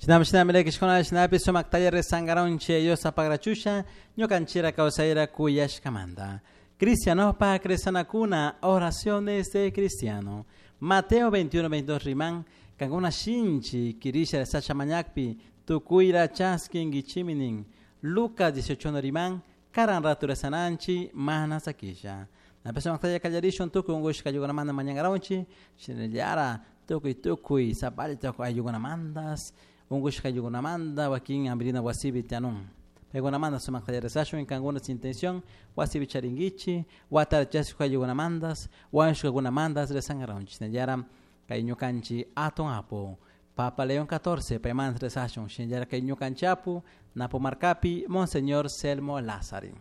Shinami shinami lakishkuna shinapi sumaktalla rezangaronchi Dios apagrachusha ñukanchira kawsayra kuyashkamanta. Cristianopak rezanakuna, oraciones de cristiano. Mateo 21, 22 riman, kankuna shinchi kirisha rezasha mañakpi tukuyra chaskinkichimi nin. Lucas 18 riman, karan ratu rezananchi mana sakisha. Napi sumaktalla kallarishun tukuy unkushka ayllukunamanta mañangaronchi, shinallara tukuy tukuy sapalla ayllukunamantas, unkushka ayllukunamanta wakin hampirina wasipi tiyanun. Paykunamanta sumaktalla rezashun kankuna intención wasipi charinkichi, watara chasquik ayllukunamantas, wañushkakunamantas rezangaronchi. Shinallara kay ñukanchik atun apu Papa León XIV paymanta rezashun, shinallara kay ñukanchik apu Napo Marcapi Monseñor Selmo Lázari.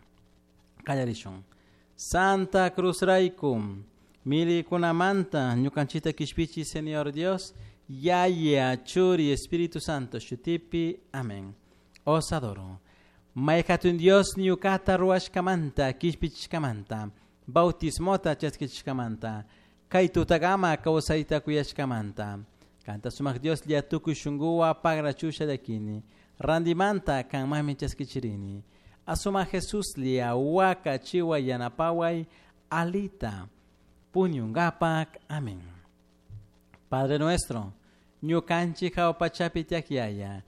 Kallarishun. Santa Cruz rayku milikunamanta ñukanchikta kishpichi Señor Dios, Yaya, Churi, Espíritu Santo, shutipi, amén. Os adoro. May hatun Dios ñukata ruwashkamanta, kishpichishkamanta, bautismota chaskichishkamanta, kay tutakama kawsayta kuyashkamanta. Kanta sumak Dios lla tukuy shunkuwan pagrachusha llakini, randimanta kanmanmi chaskichirini. Asuma Jesús lia waka chiwa yanapaway alita puñungapak. Amén. Padre nuestro, ñukanchik jahua pachapi tiyak Yaya,